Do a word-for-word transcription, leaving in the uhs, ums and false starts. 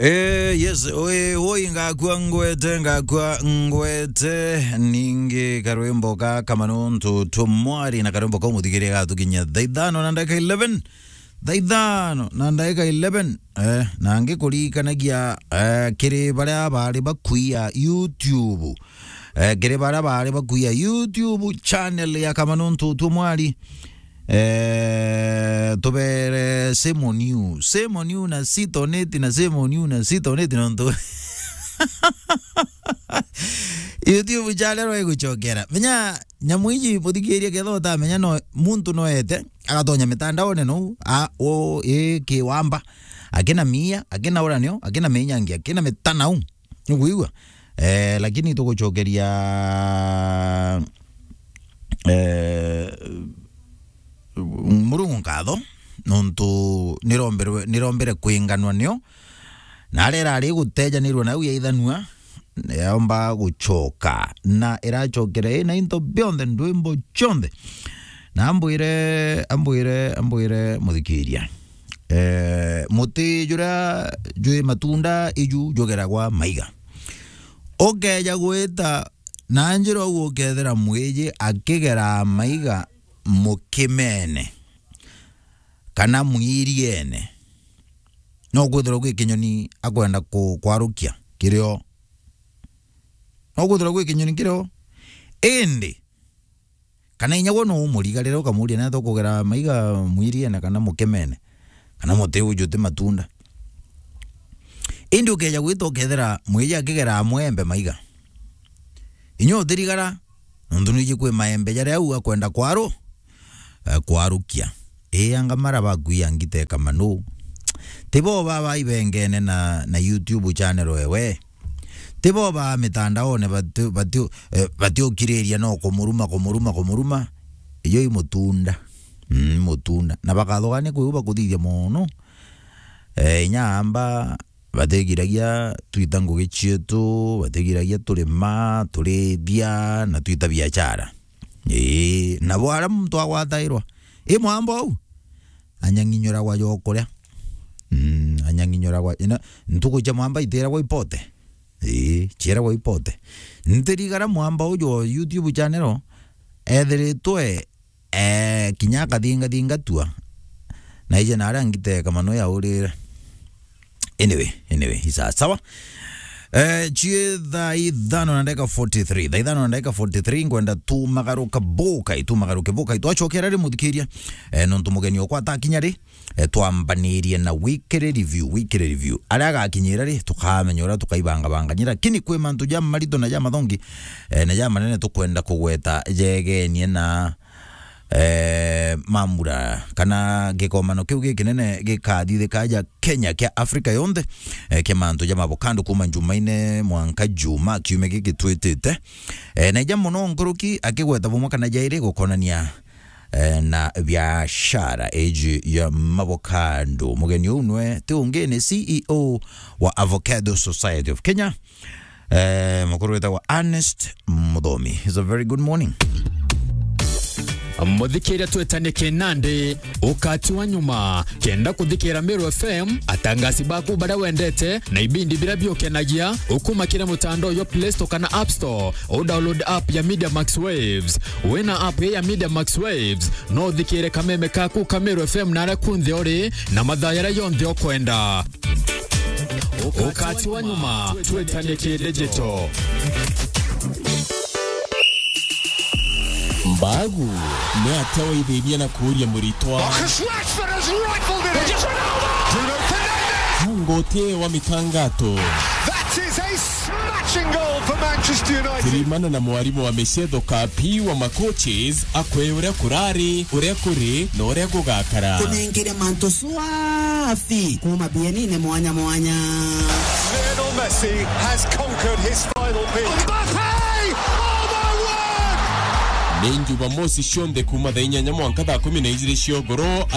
Eh, yes, oi, oi, ngakua ngwete, ngakua ngwete, ningi karwimbo ka Kamanuntu Tumwari na karwimbo kau muthikiria gatukinyia thaa ithano na ndagika eleven. Thaa ithano na ndagika eleven, eh, na ngikurikanagia, eh, kiri baria bari bakuia YouTube. Eh, kiri baria bari bakuia YouTube channel ya Kamanuntu Tumwari. Eh, tubere same on you. Same on you na sit on it na same on you na sit on it nontu YouTube channel iguchokera. Menya nyamu iji muthikiria ketha utamenya no muntu noete agatonya mitandaone no a o e kiwamba akina mia akina uranio akina menyangi akina mitanau. Nukwigua? Eh, lakini tugucokeria, eh, Murungu nkatho nontu niromberwe, nirombere kwinganwa nio, na aria irari gutejanirwa nau yaithanua, yaomba gucoka, na iracokera ina into bionthe, ndwimbo cionthe. Na ambwire, ambwire, ambwire muthikiria, eh, muti juria jwi matunda iju jugeragwa maiga. Ukeja gwita na njira uu ukethira mwiji akigera maiga mukimene kana mwiriene, no kwithirwa gwi kinyoni akwenda ku-, kwarukia kirio. No kwithirwa gwi kinyoni kirio. Indi kana inya gwe no umuriga riria ukamuria, "Neta ukugera maiga mwiriene kana mukemene, kana muti uju uti matunda?" Indi ukeja gwita ukethira mwiji akigera mwembe maiga, inya utirigara, nontu nwiji kwi maembe jaria au akwenda kwaru-, eh, kwarukia. Ii, anga mara bakuia ngiteka manu. Tibo baba ibengene na, na YouTube channel ewe. Tibo ba mitandaone bati-, bati-, eh, batiukiriria no kumuruma, kumuruma, kumuruma. Iyo i mutunda. Mm, mutunda. Na bakathogania kwi u bakuthithia mono. Eh, inya amba batigiragia twita ngugi cietu, batigiragia turima, turithia, na twita biachara. Ii, nabo aria muntu agwatairwa. I mwamba uu, anyang'inyuragwa jo kuria. Mm, anyang'inyuragwa. Ina, ntuku cia mwamba itiragwa ipote. Ii, ciiragwa ipote. Ntirigara mwamba uju wa YouTube channel ethiritwe, eh, kinya akathingathinga tua. Na ije na aria ngiteka mano yaurire. Anyway, anyway, isa sawa. Eh, chie thaa ithano na ndagika forty-three. Thaa ithano na ndagika forty-three, ngwenda tumagaruka bukai, tumagaruke bukai. Twacokera ri muthikiria, eh, nontu mugeni okwa atakinya ri, eh, twambanirie na weekly review, weekly review. Aria agakinyira ri, tukamenya uria tukaibangabanganyira. Lakini kwi mantu ja marito na ja mathongi, eh, na ja manene tukwenda kugweta jegenie na eh, mambura kana gikomano kiu gikinene gikathithika ja Kenya kia Afrika yonthe, eh, kia mantu ja mavokando kuma Jumaine mwanka Juma kiumia giki twitite. Eh, na ija muno nkuruki akigweta bumwe kana jairi gukonania, eh, na biashara iji ya mavokando. Mugeni uu nwe ti ungi ni C E O wa Avocado Society of Kenya, eh, mukuru witagwa Ernest Muthomi. It's a very good morning. Muthikiria twetanie kinandi, ukati wa nyuma, kenda kuthikira Meru F M, atangasi baku baria wendete, na ibindi biria biukenagia, ukuma kiri mutandao jwa Play Store kana App Store, u download app ya Media Max Waves. Wina app ya Media Max Waves, no uthikire kameme kaku ka Meru F M na aria kunthe uri, na mathaa jaria jonthe ukwenda. Ukati wa nyuma, twetanie ki digital. Mbagu, ni atia waithirie na kuuria muritwa? Marcus Rashford has rifled it in. Bruno Fernandes. Mungu utie wa mitangato. That is a smashing goal for Manchester United. Tirimana na mwarimu wa micetho Kapi wa macoaches, akwe uria kurari, uria kuri, na uria gugakara. Kunengere mantu swafi kuma bienine mwanya mwanya. Lionel Messi has conquered his final peak. Mbappe! Oh my word! Ni Jumamosi cionthe kuma thaa inyanya mwanka thaa kumi na ijiri cia ugoro.